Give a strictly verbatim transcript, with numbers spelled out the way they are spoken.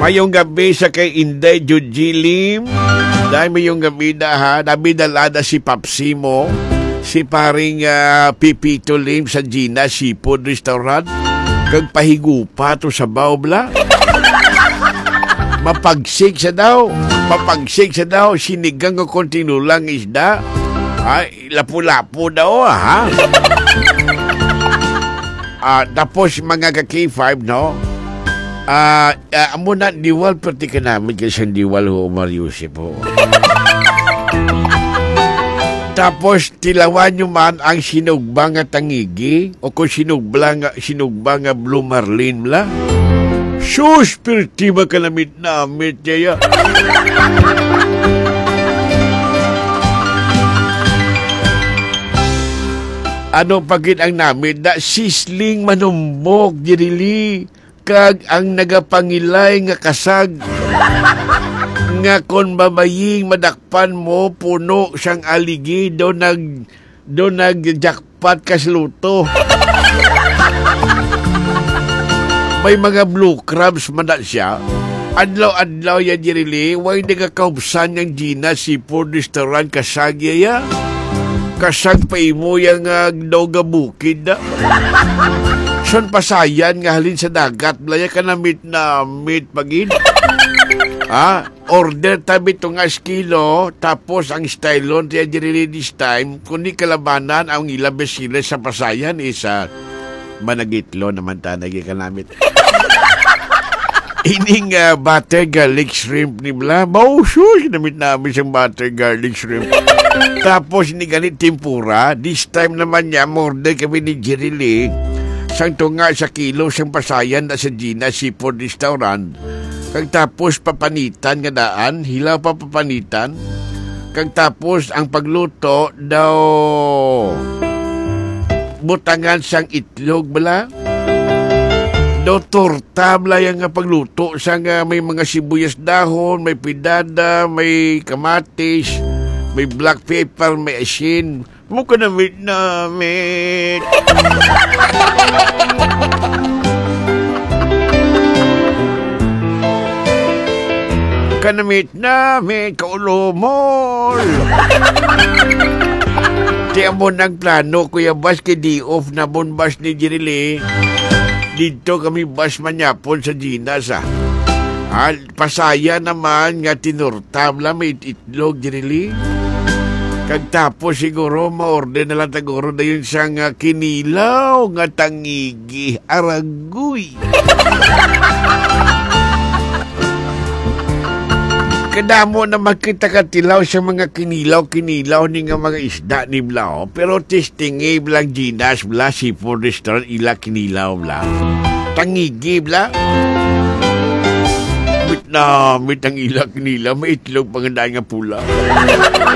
Mayong gabi sa kay Inday Juji Lim. Dahil mayong gabi na, ha. Nabidalada si Papsi mo, si paring, ah, Pipito Lim sa Gina Seafood Restaurant. Kag pahigupa to sa baw, bla. Mapagsik sa daw. Mapagsik sa daw. Sinigang o kontinulang isda. Ay, lapu-lapu daw, ha? Ah, tapos, mga ka-K five, no? Ah, ah, amo na, diwal, pati ka namin kay sang diwal, ho, Omar Yusip, ho. Tapos, tilawan nyo man ang sinugba nga tangigi o kung sinugba nga, sinugba nga blue marlin, bla. Sus, pirti ba ka namit-namit, yaya? Ano pa gid ang namit na sisling manumbok, Jirili? Kag ang nagapangilay nga kasag nga kon babaying madakpan mo, puno sang aligi, do nag-, do nag-jackpot ka sa luto. May mga blue crabs man na siya. Adlaw-adlaw ya, Jirili, way nagakaubsan yang Gina Seafood Restaurant kasag ya. Kasag pa imo ya nga daw gabukid na. Son pasayan nga halin sa dagat, blaya ka namit-namit pagin. Ha? Order tabi to nga kilo, tapos ang stylon tiya diri this time, kundi kalabanan ang ila besiles sa pasayan isa. Managitlo naman ta nagi ka namit. Ining, ah, butter garlic shrimp ni bla. Mausos namit namin siyang butter garlic shrimp. Tapos ni gani tempura, this time naman niya, order kami ni Jerry Lee. Sang tunga sa kilo, sang pasayan na sa Gina Seafood Restaurant. Kag tapos papanitan nga daan, hilaw pa papanitan. Kag tapos ang pagluto daw butangan sang itlog bala. Daw torta bala yang nga pagluto sang, ah, may mga sibuyas dahon, may pidada, may kamatis, may black pepper, may asin. Mo kanamit-namit. Kanamit-namit, kaulumol. Ti amon ang plano, Kuya Bas, kay day off na bon, Bas, ni Jirili. Didto kami, Bas, manyapon sa Ginas, ah. Ah, pasaya naman nga tinurta, bala, may itlog, Jirili. Kag tapos siguro, ma-order na lang taguro dayon siya nga kinilaw nga tangigi. Aragoy. Kadamo na makita ka tilaw sa mga kinilaw-kinilaw ni nga mga isda ni bala, oh. Pero testingi bala ang Ginas bala, seafood restaurant, ila kinilaw bala. Tangigi bala. Mit na, mit ang ila kinilaw, may itlog pa nga daan nga pula.